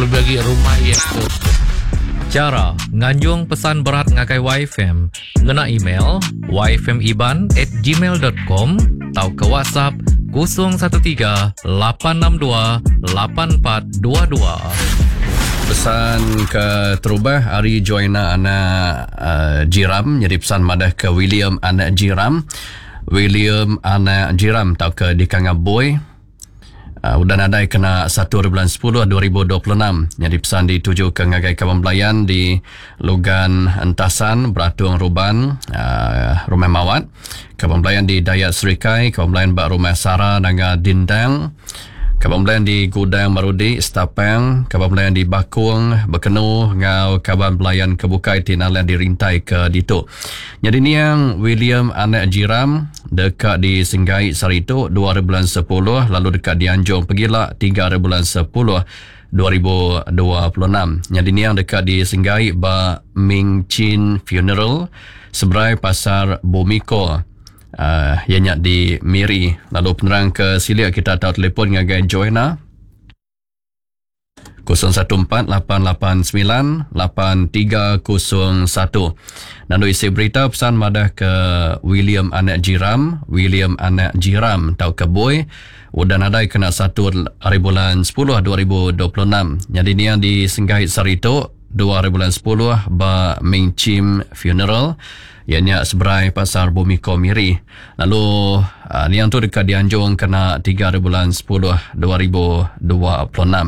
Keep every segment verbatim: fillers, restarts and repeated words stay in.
Lebih lagi rumah iya tu. Chara nganjung pesan berat ngagai Y F M ngena email y f m iban at gmail dot com tauka WhatsApp kosong satu tiga lapan enam dua lapan empat dua dua. Pesan ke terubah hari Joanna anak uh, Jiram, jadi pesan madah ke William anak Jiram. William anak Jiram tau ke di Kangaboi. Uh, udah nadai kena satu bulan sepuluh dua ribu dua puluh enam. Jadi pesan dituju ke ngagai kawan belayan di Lugan Entasan, Beratung Ruban, uh, Rumah Mawat. Kawan belayan di Dayat Serikai, kawan belayan bak Rumah Sara Nanga Dindang. Kawan belayan di Gudang Marudi, Setapang, kawan belayan di Bakung, Bekenu, ngau kawan belayan kebukai tinalan dirintai ke ditu. Jadi ni yang William anak Jiram dekat di Senggai Saritu dua bulan sepuluh, lalu dekat di Anjung Pegila tiga bulan sepuluh dua ribu dua puluh enam. Jadi ni yang dekat di Senggai ba Ming Chin Funeral seberai Pasar Bumiko. Uh, ianya di Miri. Lalu penerang ke silia kita tahu telefon ngagai Joanna kosong satu empat lapan lapan sembilan lapan tiga kosong satu. Nandu isi berita pesan madah ke William anak Jiram, William anak Jiram tau ke Boy udah nadai kena satu hari bulan sepuluh dua ribu dua puluh enam. Jadi ni yang di Senggai Sarito dua hari bulan sepuluh ba Ming Chim Funeral ianya seberai Pasar Bumiko Miri. Lalu uh, ni yang tu dekat dianjung kena tiga hari bulan sepuluh dua ribu dua puluh enam.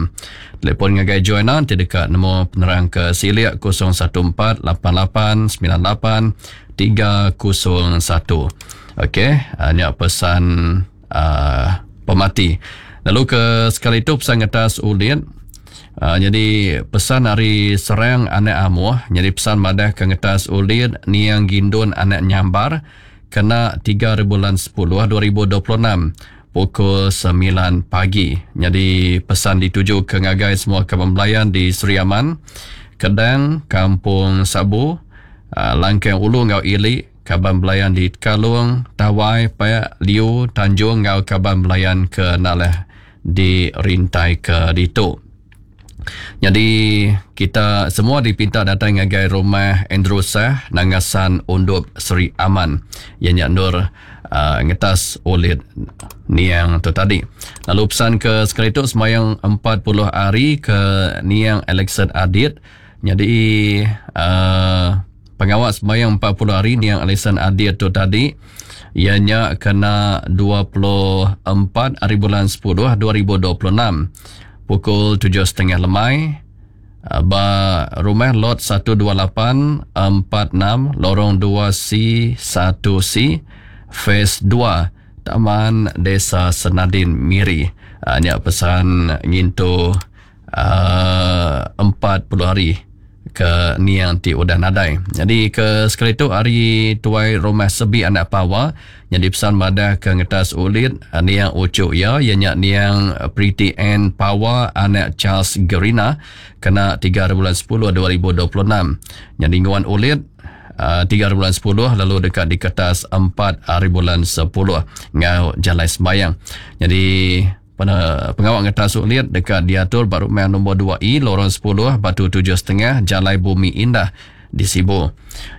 Telefon ngagai Joanna nanti dekat nombor penerang ke Silik kosong satu empat lapan lapan sembilan lapan tiga kosong satu. Okey, uh, ni pesan uh, pemati. Lalu ke sekali tu pesan atas ulit. Uh, jadi pesan hari Serang anak Amuh, jadi pesan madah ke ngetas ulit niang Gindun anak Nyambar kena tiga bulan sepuluh dua ribu dua puluh enam pukul sembilan pagi. Jadi pesan dituju ke ngagai semua kawan belayan di Sri Aman, Kedang, Kampung Sabu, uh, Langkang Ulu ngau Ili, kaban belayan di Kalung, Tawai, Payak, Liu, Tanjung ngau kaban belayan ke Naleh di Rintai ke Ditu. Jadi kita semua dipinta datang ngagai rumah Andrew Sah Nangasan Undup Sri Aman. Ianya Nur uh, ngetas ulit niang tu tadi. Lalu pesan ke sekali tu semayang empat puluh hari ke niang Alexan Adit. Jadi uh, pengawal semayang empat puluh hari niang Alexan Adit tu tadi ianya kena dua puluh empat hari bulan sepuluh dua ribu dua puluh enam. Pukul tujuh setengah lemai ba rumah lot satu dua lapan empat enam lorong dua C satu C phase dua Taman Desa Senadin Miri. Nya pesan ngintu uh, empat puluh hari ke niang ti udah nadai. Jadi ke sekali tu hari tuai rumah sebi anak pawa jadi pesan madah ke ngetas ulit niang ucuk ya ianya niang Pretty Ann Pawa anak Charles Gerina kena tiga bulan sepuluh dua ribu dua puluh enam. Jadi nguan ulit uh, tiga bulan sepuluh lalu dekat di kertas empat hari bulan sepuluh ngau jalai sembayang. Jadi pengawal ngetas ulit dekat diatur baru rumah nombor dua E lorong sepuluh Batu tujuh setengah Jalai Bumi Indah di Sibu.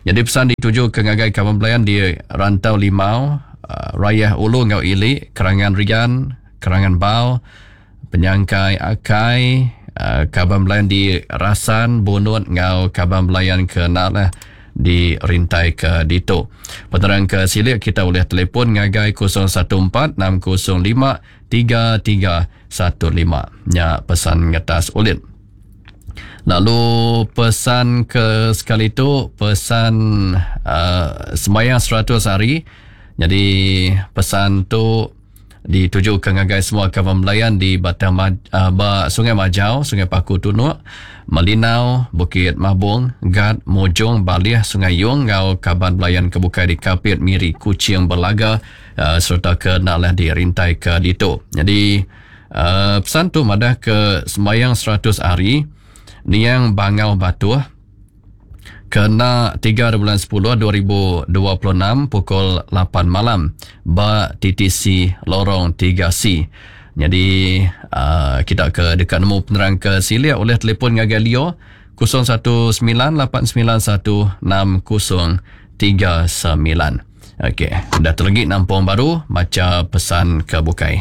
Jadi pesan dituju ke ngagai kawan belayan di Rantau Limau, uh, Rayah Ulu ngau Ili, Kerangan Rian, Kerangan Bau, Penyangkai Akai, uh, kawan belayan di Rasan, Bunut ngau kawan belayan ke Nalah di Rintai ke Dito. Penerang ke Silik kita boleh telefon ngagai kosong satu empat enam kosong lima tiga tiga satu lima. Nya pesan ngetas ulit. Lalu pesan ke sekali tu pesan uh, sembahyang seratus hari. Jadi pesan tu dituju ke ngagai semua kawan belayan di Batang Ma-, uh, ba Sungai Majau, Sungai Paku Tunuk, Melinau, Bukit Mabung, Gad, Mojong, Baliah, Sungai Yong, ngau kaban belayan kebukai di Kapit, Miri, Kuching, Belaga, uh, serta ke Nalah di Rintai ke Ditu. Jadi uh, pesan tu madah ke sembahyang seratus hari niang Bangau Batuh kena tiga bulan sepuluh dua ribu dua puluh enam pukul lapan malam ba T T C Lorong tiga C. Jadi uh, kita ke dekat nemu penerang ke silia oleh telefon ngagai Leo kosong satu sembilan lapan sembilan satu enam kosong tiga sembilan. Okey, dah terlegi nampung baru baca pesan ke bukai.